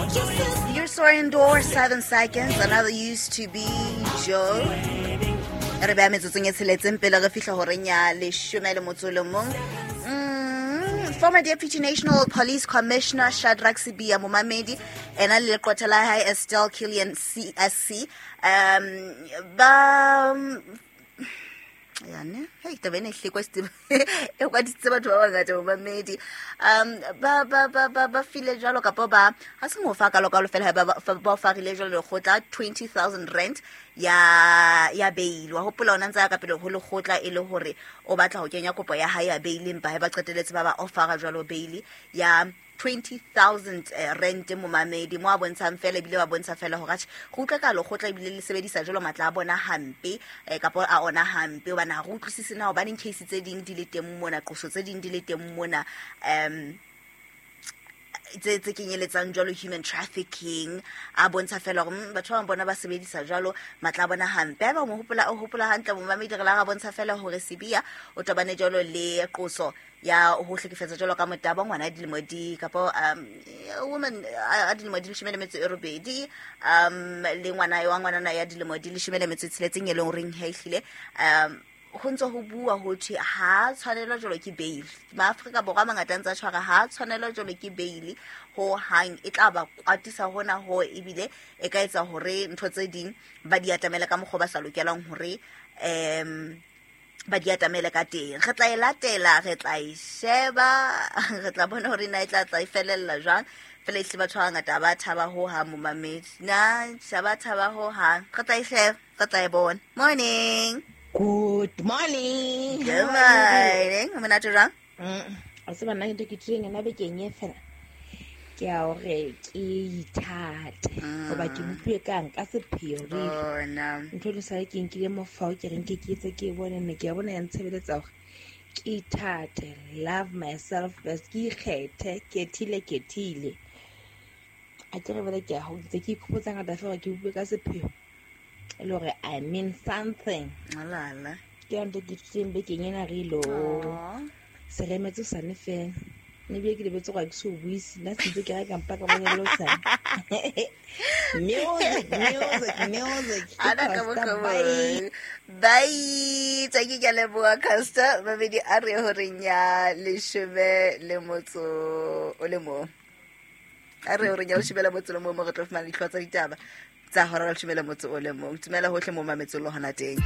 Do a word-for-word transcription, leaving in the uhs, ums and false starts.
You saw indoor seven seconds. Another used to be Joe. Re beha metsotsong e tsheletseng pele re fihla horeng ya leshome le motso o le mong. Mm, former Deputy National Police Commissioner Shadrack Sibiya momamedi ena le leqwetha la hae Estelle Killian C S C um ba yane hey taba ena e hlekwa Steve e kwadisitse batho ba bangata momamedi um ba ba ba ba ba file jwalo kapa ba ha se mo fa ka lokalo fela ba ba ba farile jwalo lekgotla twenty thousand rand ya ya bail. Wa hopola ona ntse ya ka pele ho lekgotla e le hore o batla ho kenya kopo ya hae ya bail, empa ha ba qetelletse ba ba offera jwalo bail ya twenty thousand rand momamedi mo a bontshang fela ebile ba bontsha fela hore atjhe go utlwa ka lekgotla ebile le sebedisa jwalo matla a bona hampe eh, kapa a ona hampe hobane ha re utlwisise na hobaneng case tse ding di le teng mona, qoso tse ding di le teng mona um tse tse kenyeletsang jwalo human trafficking. A bontsha fela hore mm, batho ba bang bona ba sebedisa jwalo matla a bona hampe. Haeba o mo hopola, o hopola hantle momamedi, re la ra bontsha fela hore Sibiya o tobane jwalo le qoso ya ho hlekefetsa jwalo ka motabo ngwana dilemo di kapa um woman a dilemo di leshome le metso e robedi um le ngwana wa ngwanana ya dilemo di leshome le metso e tsheletseng e leng horeng ha ehlile um ho ntse ho bua ho thwe ha tshwanelwa jwalo ke bail. Maafrika Borwa a mangata a ntse a tshwara ha tshwanelwa jwalo ke bail ho hang, e tla ba kwatisa hona ho ebile e ka etsa hore ntho tse ding ba di atamele ka mokgwa ba sa lokelang hore um ba di atamele ka teng. Re tla e latela, re tla e sheba, re tla bona hore na e tla tla e felella jwang. Fela ehlile batho ba bangata ba thaba ho hang momamedi. Na ha ba thaba ho hang. Re tla e sheba, re tla e bona. Morning. Good morning. Good morning. O monate jwang? Mm. A tseba nna ntho ke tlileng yona bekeng e fela. Ke ya hore ke ithate. Hoba ke bopilwe kang ka sepheo really. Bona. Ntho le sale ke nkile mofao ke reng ke ke etse ke e bone mme ke a bona ya ntshebeletsa hore ke ithate, love myself first, ke ikgethe, kethile kethile. A ke re bele ke a ho ntse ke ikhopotsa ngata fela ke bopilwe ka sepheo. E le hore I mean something. Alala. Ke yona ntho ke ithuteng bekeng ena re ilo. Aw. Se remetse hosane fela. Mme ebile ke lebetse hore ha ke so buise. Nna se ntse ke reka mpa ka bona le hosane. Music, music, music. Ana ka Costa, boka bye. Bye. Thank you, ke a leboha, Costa. Mabedi a re horeng ya leshome le motso o le mong. A re horeng ya leshome le motso o le mong mo re tlo fumana dihlooho tsa ditaba tsa hora ya leshome le motso o le mong. Tumela hohle mo mametsong le hona teng.